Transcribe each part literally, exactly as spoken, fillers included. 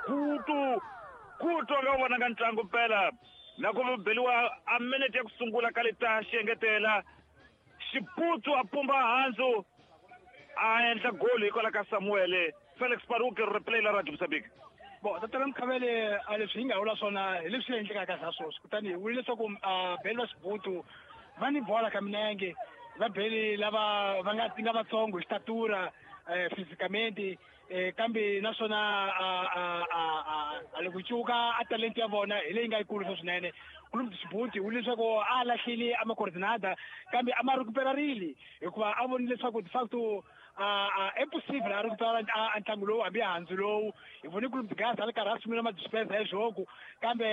Gutu Gutu a nga wu vonanga ntlangu mpela na ku beliwa a minute ya ku sungula ka leta xiengetela Xibutsu a pumba handzu a endla goli hikwalaho ka Samuel Felix Paruke replay la Radio Mozambique. Bon, tatana Mkhavele, a leswi hi nga vula swona hi leswi endlekaka za sweswi. Kutani hi vule leswaku beli va Xibutu va ni bola ka minenge, va beli lava va nga nga vatsongo hi xitatura fisicamente, kambe naswona a loko cuka a talent ya vona hi leyi nga yikulu swinene. Clube de Xibutu wu leswaku a lahlile a macoordinada kambe a ma recuperarile hikuva a vonile leswaku de facto a é possível a recuperar a ntlangu lowu hambi handzu lowu. Hi vone Clube de Gaza a ri karhi a sungula ma-dispensa ya jogo kambe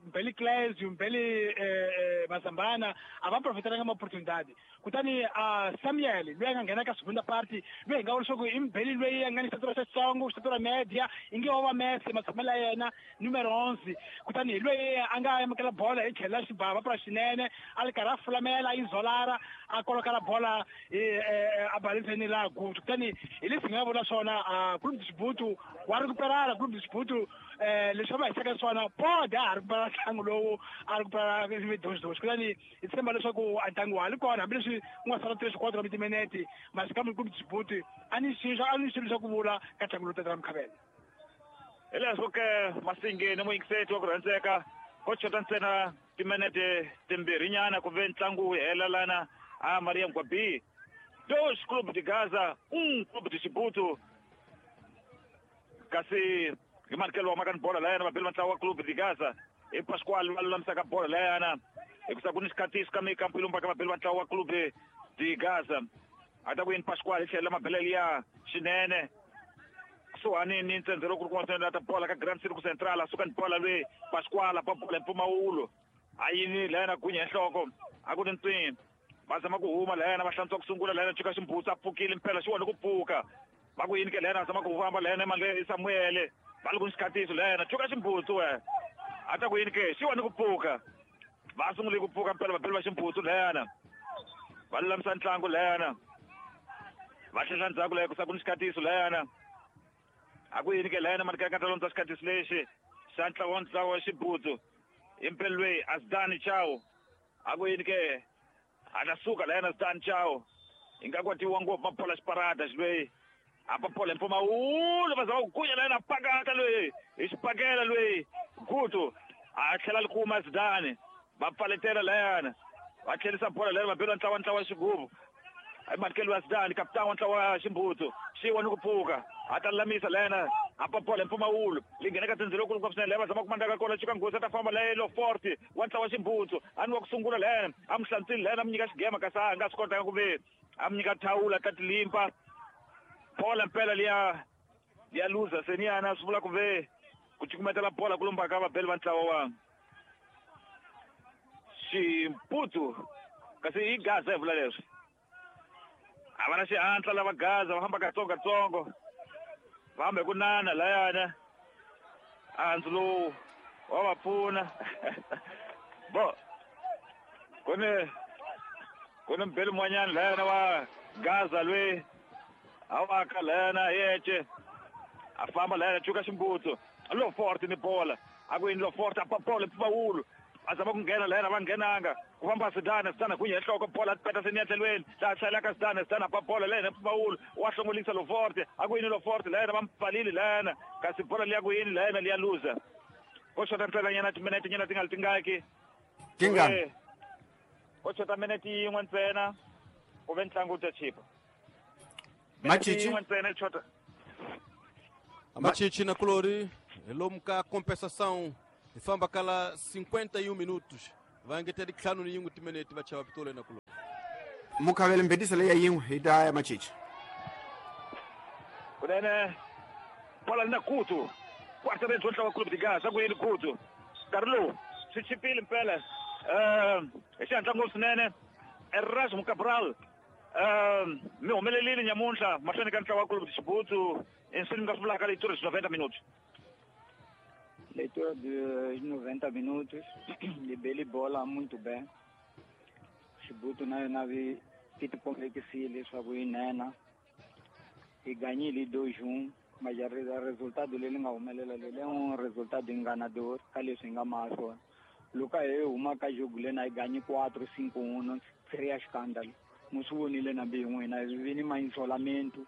Mbeli Clésio, Mbeli Mazambana a va profiteranga ma-opportunidade. Kutani Samuel loyi a nga nghena ka segunda parte loyi hi nga vula leswaku i Mbeli loyi a nga ni xitatura xitsongo, xitatura media, inge wa va Messi matshamelo ya yena numero onze. Kutani hi loyi a nga amukela bola hi tlhelo la xibava pra xinene a ri karhi a fulamela a yi zolara a kolokala bola a balenseni la Gutu. Kutani hi leswi hi nga vula swona Clube de Xibutu wa recuperala. Clube de Xibutu leswi va hisaka swona pode a ha recupera ntlangu lowu a recupera doxidoxi. Kutani hi tshemba leswaku a ntlangu wa ha ri kona hambileswi ku nga sala tres quatro timinete masi kambe Clube de Xibutu a ni xilo a ni xilo xa ku vula ka ntlangu lowu tatana Mkhavele. Hi leswo ke Masingeni muyingiseti wa ku rhandzeka ko chota ntsena timinete timbirhinyana ku ve ntlangu wu hela lana a Maria Mgwabi. Dois Clube de Gaza, um Clube de Xibutu. Kasi hi manikelo wa maka ni bola layana vabeli va ntlawa wa Clube de Gaza hi Pasquale va lulamisaka bola layana hikusa ku ni xikhatiso ka mikampilumba ka vabeli va ntlawa wa Clube de Gaza. A ta ku yini Pasquale hi tlhela mabelele ya xinene kusuhani ni ntsendze loko ku ri kun'wana swinene ta bola ka Grand Circo Central a suka ni bola lweyi Pasquale pa bola hi mpfumawulo a yini layana gunya hi nhloko a ku ni ntswini va zama ku huma layana va hlantswa ku sungula layana cuka Ximbutsu a pfukile mpela xi wona ku pfuka va ku yini ke layana zama ku famba layana emandle Samuel va ri ku ni xikhatiso layana cuka Ximbutsu we a ta ku yini ke xi wona ku pfuka va sungule ku pfuka mpela vabeli va Ximbutsu layana va lulamisa ntlangu layana va tlhela ndzhaku laya ku sa ku ni xikhatiso layana a ku yini ke layana mani ka ta londza xikhatiso lexi xa ntlawa wa ntlawa wa Xibutsu hi mpela loyi Asdani Chao a ku yini ke a ta suka layana Asdani Chao hi nga kwatiwa ngopfu mabola xiparada xiloyi a papola mpfumawulo va zama ku gunya layana pakata loyi hi xipakela loyi Gutu a tlhela li kuma Asdani va pfaletela layana va tlherisa bola layana va bela ntlawa ntlawa xigubu hi manikelo wa Zidane kapitani wa ntlawa wa Ximbutsu xi wona ku pfuka a ta lulamisa layana a papola mpfumawulo li nghena ka tindzilo kulu ngopfu swinene laya va zama ku mandaka kona Chuka Nghozi a ta famba laya lo forte wa ntlawa wa Ximbutsu a ni wa ku sungula layana a mu hlantswile layana a mu nyika xigema kasi a nga swi kotanga ku ve a mu nyika thawula ta tilimpa bola mpela liya liya luza seniyana swi vula ku ve ku cukumetela bola ku lombaka vabeli va ntlawa wa Ximbutsu kasi i Gaza hi vula leswi a va na xihatla lava Gaza va famba katsongokatsongo va hamba hi ku nana layana handzu lowu wa va pfuna bo ku ni ku ni mbeli mun'wanyana layana wa Gaza loyi a waka layana yece a famba layana cuka Ximbutsu lo forte ni bola a ku yini lo forte a papola mpfumawulo a zama ku nghena layana va nghenanga ku famba Zidane Zidane gunya hi nhloko bola peta seni ya tlhelweni laha hlayelaka Zidane Zidane a pa bola layana mpfumawulo wa hlongolisa lo forte a ku yini lo forte layana va mpfalile layana kasi bola liya ku yini layana liya luza ko xota ntsenanyana timinete nyana ti nga li tingaki tingani ko xota minete yin'we ntsena ku ve ntlangu wu ta chipa Machichi yin'we ntsena yi xota Machichi na Colori lomu ka compensação hi famba kala cinquenta e um minutos va engetela ntlhanu ni yin'we timinete va chava pitolo na Colori. Mukhavele mbetisa leya yin'we hi ta ya Machichi kunene bola li na Gutu quarta range wa ntlawa wa Clube de Gaza ku yini Gutu nkarhi lowu swi chipile mpela hi xihatla ngopfu swinene Erasmo Cabral mi humelelile nyamuntlha mahlweni ka ntlawa wa Clube de Xibutu inswini mi nga swi vulaka leitura byi noventa minutos. Leitura de noventa minutos, libeli bola muito bem. Xibutu na yona vi ti tikomekisile leswaku yi nena. Hi ganyile dois um. Mas o resultado leri nga humelela leri um resultado enganador ka leswi hi nga maha swona. Loko hi huma ka jogo lena hi ganyi quatro cinco um seria escândalo. Mu swi vonile na mbi n'wina hi vi ni ma-isolamento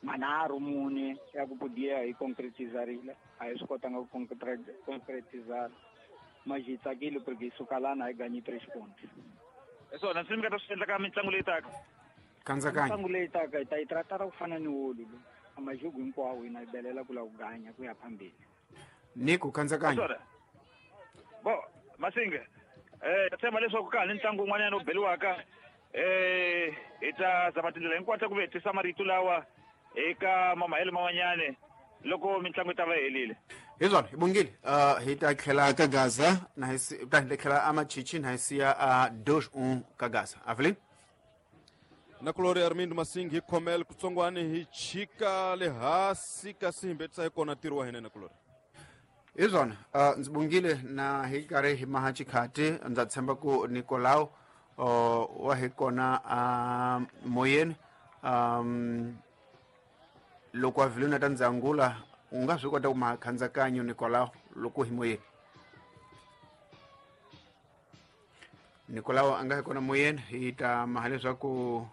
manharhu mune ya ku podia hi concretizarile a hi swi kotanga ku concretizar mas hi tsakile porque hi suka lana hi ganyi três pontos. Hi swona swi mi nga ta swi endla ka mitlangu leyi taka? Kandzakanyo. Mitlangu leyi taka hi ta yi tratara ku fana ni wolu lowu. A majogo hinkwawo hina hi belela ku lava ku ganya ku ya phambili. Nico Kandzakanyo. Bo Masinga eh tshemba leswaku ka ha ni ntlangu wun'wanyana wu beliwaka eh hi ta zama tindlela hinkwato ku vetisa marito lawa eka mamahelo man'wanyana loko mitlangu yi ta va yi helile. Hi swona hi bongile uh, hi ta tlhela ka Gaza na hi si ta hi ta tlhela amachichi na hi siya a dois um ka Gaza. Avelin Nakulori Armindo Masingi hi khomela kutsongwani hi chika le hansi kasi hi mbetisa hi kona ntirho wa hina Nakulori. Hi swona uh, ndzi bongile na hi karhi hi maha xikhati ndza tshemba ku Nicolau uh, wa hi kona uh, moyeni um, loko Avelino ta ndzangula u nga swi kota ku maha khandzakanyo Nicolau loko hi moyeni. Nicolau a nga hi kona moyeni hi ta maha leswaku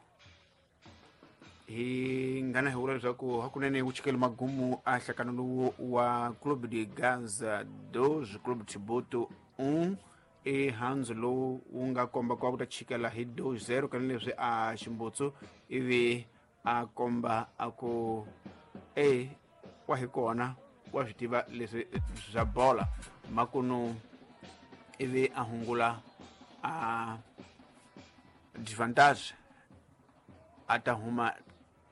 hi ngana hi vula leswaku hakunene wu chikele magumu a nhlakano lowu wa Clube de Gaza dois Clube Chibuto um e handzu lowu wu nga komba ku va ku ta chikela hi dois zero kanileswi a ximbutsu ivi a komba a ku e wa hi kona wa swi tiva leswi swa bola makunu ivi a hungula a divantage a ta huma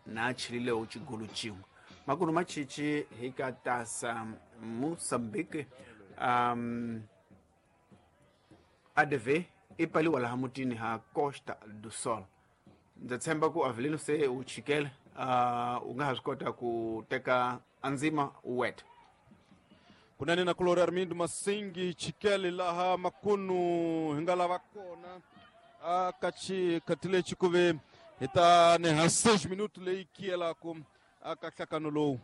na chilileho xigolo xin'we makunu machichi hi ka tasa Moçambique um, A D V i paliwa laha mutini ha Costa do Sol. Ndza tshemba ku Avelino se u chikele uh, u nga ha swi kota ku teka andzima u weta. Kunene na Kulori Armindo Masingi chikele laha makunu hi nga lava kona a ka xikhati lexi ku ve hi ta ni ha seis minuto leyi kiyelaka aka nhlakano lowu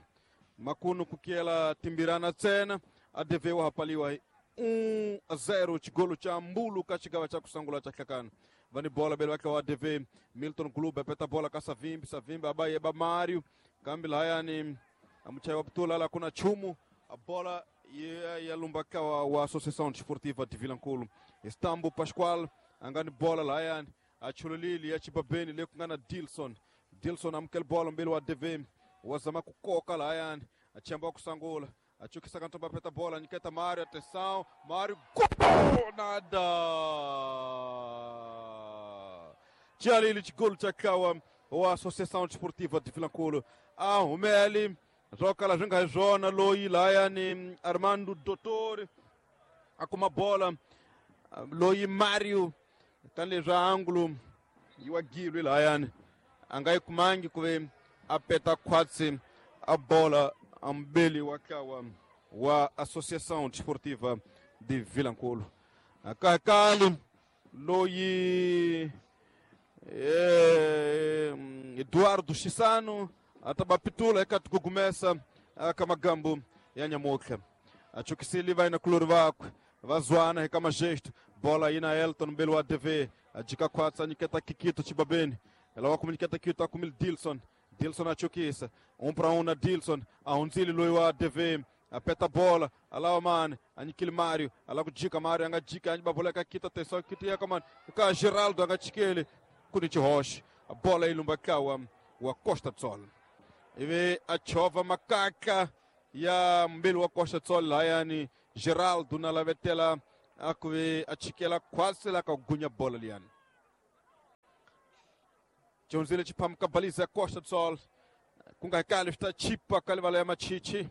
makunu ku kiyela timbirana ntsena A D V wa ha paliwa hi um a zero xigolo xa mbulu ka xigava xa ku sungula xa nhlakano. Va ni bola bele va tlawa A D V Milton Clube peta bola ka Savimbi Savimbi aba yeba Mario kambe lahayani a muchayi wa putula la ku na nchumu a bola ya ya lumba ka wa, wa Associação Desportiva de Vilankulo. Estambo Pascoal a nga ni bola lahayani a chululile ya chibabeni le ku nga na Dilson. Dilson amukela bola mbili wa A D V wa zama ku koka lahayani a chamba ku sangula a chukisa ka ntomba peta bola nyiketa Mario atenção Mario gol nada Tjalili xigolo xa tlawa wa Associação Desportiva de Vilankulo a humeli swo kala swi nga hi swona loyi lahayani Armando Dottori a kuma bola loyi Mario tanihileswi angulo yi wa gilwi lahayani a nga yi kumangi ku ve a peta khwatsi a bola a mbeli wa tlawa wa Associação Desportiva de Vilankulo. Kakali loyi eh, Eduardo Chisano a ta ba pitula eka tikugumesa ka magambo ya nyamutlha a chukisile va na kulori vakwe va zwana eka magesto bola yi na Elton mbeli wa A D V a jika khwatsa a nyiketa Kikito Chibabeni lawa ku nyiketa Kikito a kumile Dilson Dilson a chukisa um para um na Dilson a hundzile loyi wa A D V a peta bola a lava mani a nyikile Mario a lava ku jika Mario a nga jika a ba bola eka Kito atenção Kito ya ka mani ka Geraldo a nga chikeli ku ni xihoxo a bola yi lumba tlawa wa Costa do Sol ivi a chovha makaka ya mbili wa Costa do Sol lahayani Geraldo na lavetela a ku ve a chikela khwatsi la ka ku gunya bola liyani Jonzile chiphamuka baliza ya Costa do Sol ku nga kali swi ta chipa ka livala ya machichi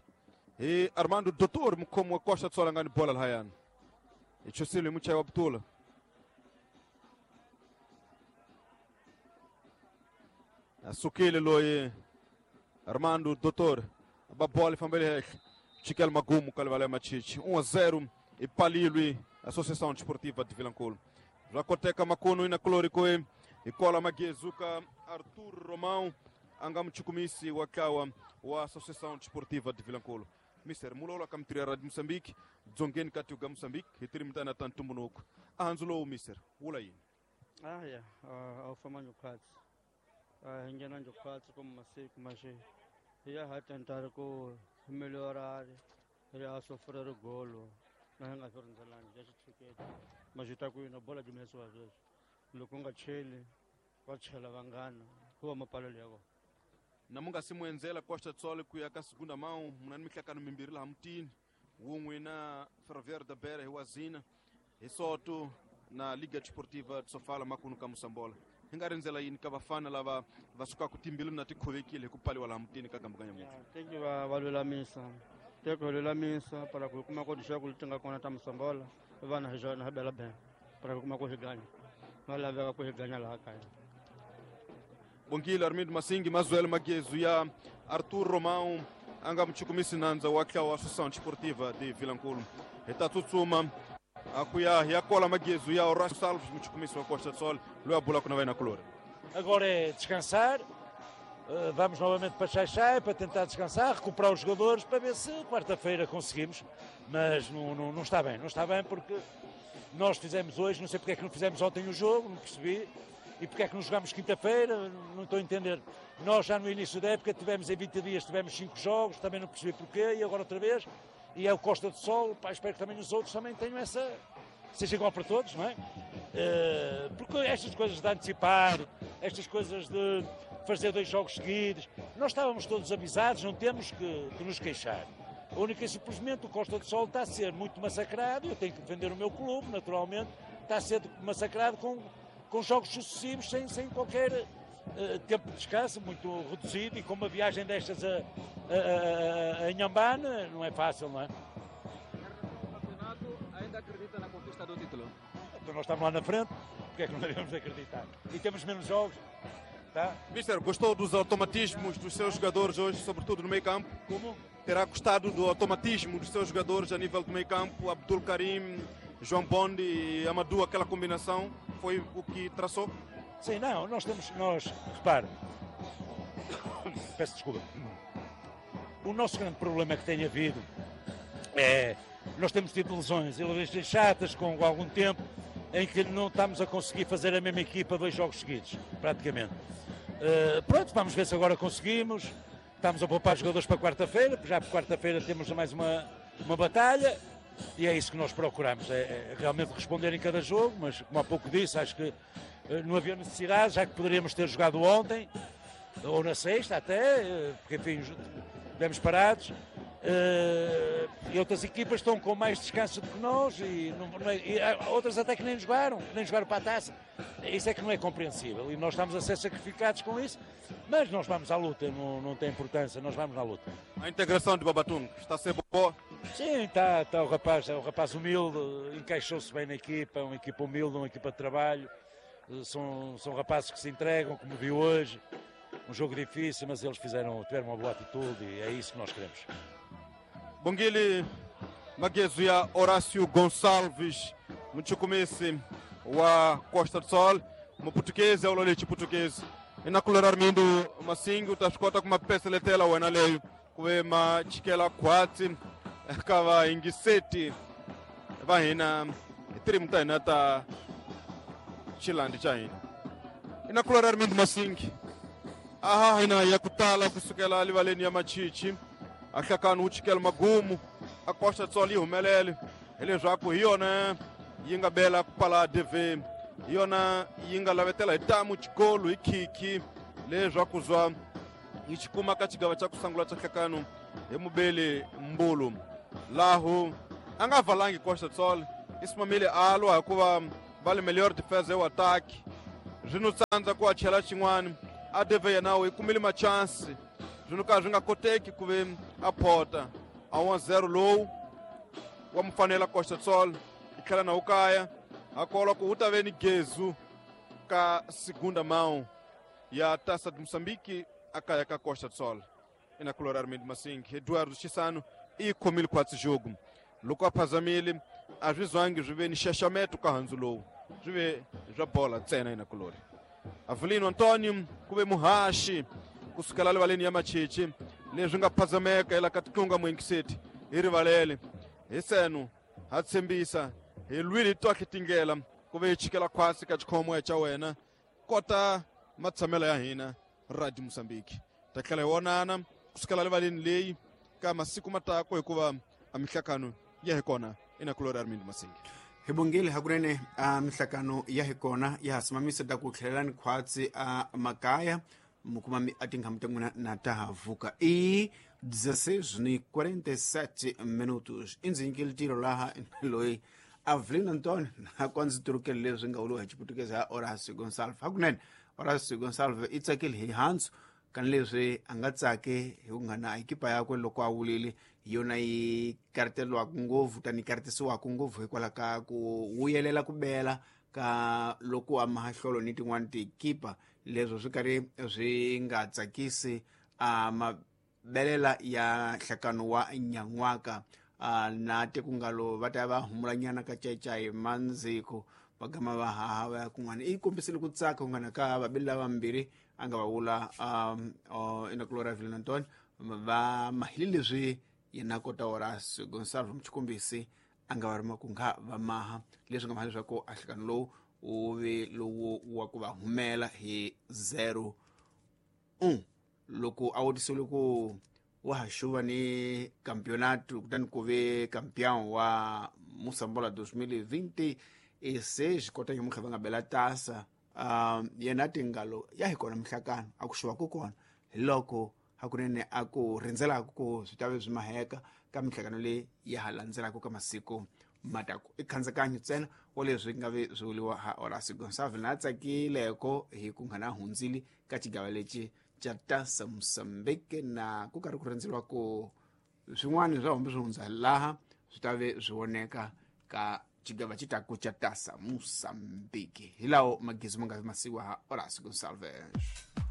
hi Armando Dottori mukhomi wa Costa do Sol a nga ni bola lahayani hi chusile hi muchayi wa putula a sukile loyi Armando Dottori ba bola yi fambele henhla chikela magumu ka livala ya machichi um a zero i palilwi Associação Desportiva de Vilankulo. Swa koteka makunu ina kulori ku hi kola magezu ka Arthur Romão a nga muchukumisi wa ntlawa wa Associação Desportiva de Vilankulo. Mister Mulola ka mitiri ya Radio Moçambique, dzongeni ka tiko ka Moçambique, hi tiri mitana ta ntumbuluko. A handzu lowu mister, wula yini? Ah ya, a wu famba njokhatsi. A hi nghena njokhatsi ku masiku maxi. Hi ya ha tentare ku melhorare, hi ya sofrere golo. Na hi nga swi rindzelangi ya xitshuketi. Maxi ta ku yina bola jumesiwa sweswi. Loko u nga cheli, va chela vanghana, ku va mapalelo ya kona. Na mu nga si mu endzela Costa do Sol ku ya ka segunda mão, muna ni mihlangano mimbirhi laha mutini, wun'we na Ferroviário da Beira hi Wazina, hi Soto na Liga Desportiva de Sofala makunu ka Moçambola. Hi nga rindzela yini ka vafana lava va sukaka timbilu na ti khovekile hi ku pfaliwa laha mutini ka Gambu ka nyamuntlha? Teki va va lulamisa, teki va lulamisa para ku kuma ku dixaku leti nga kona ta Moçambola, vana hi xona hi bela bela para ku kuma ku hi ganya. Va laveka ku hi ganya laha kaya. Bongile Armindo Massingi, Mazuel Maguezu ya Arthur Romão, a nga muchukumisi nandza wa ntlawa wa Associação Desportiva de Vilankulo. Hi ta tsutsuma a ku ya hi ya kola Maguezu ya Horácio Salves, muchukumisi wa Costa do Sol, loyi a bulaka na wena kulori. Agora é descansar, vamos novamente para Xaixai para tentar descansar, recuperar os jogadores para ver se quarta-feira conseguimos, mas não, não, não está bem, não está bem porque nós fizemos hoje, não sei porque é que não fizemos ontem o jogo, não percebi. E porque é que não jogámos quinta-feira, não estou a entender. Nós já no início da época tivemos em vinte dias, tivemos cinco jogos, também não percebi porquê, e agora outra vez. E é o Costa do Sol, pá, espero que também os outros também tenham essa... seja igual para todos, não é? Porque estas coisas de antecipar, estas coisas de fazer dois jogos seguidos, nós estávamos todos avisados, não temos que, que nos queixar. A única e simplesmente o Costa do Sol está a ser muito massacrado, eu tenho que defender o meu clube, naturalmente, está a ser massacrado com... com jogos sucessivos, sem, sem qualquer uh, tempo de descanso, muito reduzido, e com uma viagem destas a, a, a, a Inhambane, não é fácil, não é? O campeonato ainda acredita na conquista do título? Então nós estamos lá na frente, porque é que não devemos acreditar? E temos menos jogos, tá? Mister, gostou dos automatismos dos seus jogadores hoje, sobretudo no meio campo? Como? Terá gostado do automatismo dos seus jogadores a nível do meio campo, Abdul Karim, João Bondi e Amadou, aquela combinação, foi o que traçou? Sim, não, nós temos, nós, repare, peço desculpa, o nosso grande problema que tem havido é, nós temos tido lesões, e lesões chatas com algum tempo, em que não estamos a conseguir fazer a mesma equipa dois jogos seguidos, praticamente. Uh, pronto, vamos ver se agora conseguimos, estamos a poupar jogadores para quarta-feira, já por quarta-feira temos mais uma, uma batalha. E é isso que nós procuramos, é, é realmente responder em cada jogo, mas como há pouco disse, acho que não havia necessidade, já que poderíamos ter jogado ontem, ou na sexta até, porque enfim, estivemos parados. E outras equipas estão com mais descanso do que nós, e, não, não é, e outras até que nem jogaram, nem jogaram para a taça. Isso é que não é compreensível e nós estamos a ser sacrificados com isso, mas nós vamos à luta, não, não tem importância, nós vamos à luta. A integração de Babatunde está a ser boa? Sim, está, está o rapaz, é um rapaz humilde, encaixou-se bem na equipa, é uma equipa humilde, uma equipa de trabalho, são, são rapazes que se entregam, como viu hoje, um jogo difícil, mas eles fizeram, tiveram uma boa atitude e é isso que nós queremos. Bongile Maguezu ya Horácio Gonçalves, muchukumisi wa Costa do Sol, mu português é o lolete português. E na colher Armindo Massingo, tá escota com uma peça letela wena leyo, kuve ma chikela kwatsi, kava ingiseti, va hina, tiri muta hina ta chilandi cha hina. E na colher Armindo Massingo, aha hina ya kutala kusukela livaleni ya machichi. Ahlakani wu chikela magumu a Costa do Sol yi humelele hileswaku hi yona yi nga bela ku pala D V, hi yona yi nga lavetela hi tamu xikolo hi khikhi leswaku zwa yi xi kuma ka xigava xa ku sungula xa nhlakano hi mubeli Mbulu. Lahu a nga valangi Costa do Sol, i simamile a lwa hikuva va le melhor defesa yo attack swi no tsandza ku a chela xin'wana a D V yena yi kumile machansi swi no ka swi nga koteki ku ve a phota a one zero lowu wa mufanela Costa do Sol yi tlhela na wu kaya a kolwa ku wu ta ve ni gezu ka segunda mão ya Taça de Moçambique a kaya ka Costa do Sol. Ina kulora Armindo Masing, Eduardo Chissano i khomile khwatsi jogo loko a phazamile a swi zwangi swi ve ni xaxameto ka handzu lowu swi ve swa bola ntsena ina kulori. Avelino Antônio ku ve muhaxi kusukela rivaleni ya Machichi leswi nga phazameka ela ka titlunga muingiseti hi rivalele hi seno ha tshembisa hi lwile hi twahle tingela ku ve hi chikela khwasi ka xikhomo xa wena kota matshamelo ya hina Radio Mozambique ta tlhela hi vonana kusukela rivaleni leyi ka masiku matako hikuva a mihlakano ya hi kona ina Gloria Armindo Masingi hi bongile hakunene a mihlakano ya hi kona ya ha simamisa ta ku tlhelelani khwatsi a makaya mukuma a tinghamu ta n'wina na ta ha vuka i dezesseis ni quarenta e sete minutos i ndzi nyikile tiro laha loyi Avelino Antonio na kwa ndzi turukele leswi nga vuriwa hi xiputukezi ha Horacio Gonçalves hakunene Horacio Gonçalves i tsakile hi handzu kani leswi a nga tsaki hi ku nga na ekipa yakwe loko a wulile hi yona yi karitelwaka ngopfu tani yi karitisiwaka ngopfu hikwalaho ka ku vuyelela ku bela ka loko a mahahlolo ni tin'wani tiekipa leswo swi karhi swi nga tsakisi a mabelela ya nhlakano wa nyan'waka a na tekungalo va ta va humulanyana ka cacai mandziko va gama va haha va ya kun'wana i kombisile ku tsaka ku ngana ka vabeli lavambirhi a nga va vula um, uh, ina Gloria Avelino Antonio va mahile leswi yena kota Horacio Gonçalves muchikombisi a nga va rima ku nga va maha leswi nga maha leswaku a nhlekano lowu wu ve lowu wa ku va humela hi zero un loko a vutisiwile ku wa ha xuva ni campeonato kutani ku ve campeão wa Moçambola dois mil e vinte e seis kota nyamutlha va nga bela tasa um yena tingalo ya hi kona mihlakano a ku xuva ku kona hi loko hakunene a ku rindzelaka ku swi ta ve swi maheka ka mihlakano leyi ya ha landzelaka ka masiku mataku i khandzikanyo ntsena wa leswi nga ve swi vuriwa ha Horacio Gonçalves na tsakileko hi ku nga na hundzile ka xigava lexi xa Taça Moçambique na ku karhi ku rindzeriwa ku swin'wana swa hombe swi hundza laha swi ta ve swi voneka ka xigava xi taku xa Taça Moçambique hi lawo magezi ma nga vi masiwa ha Horacio Gonçalves.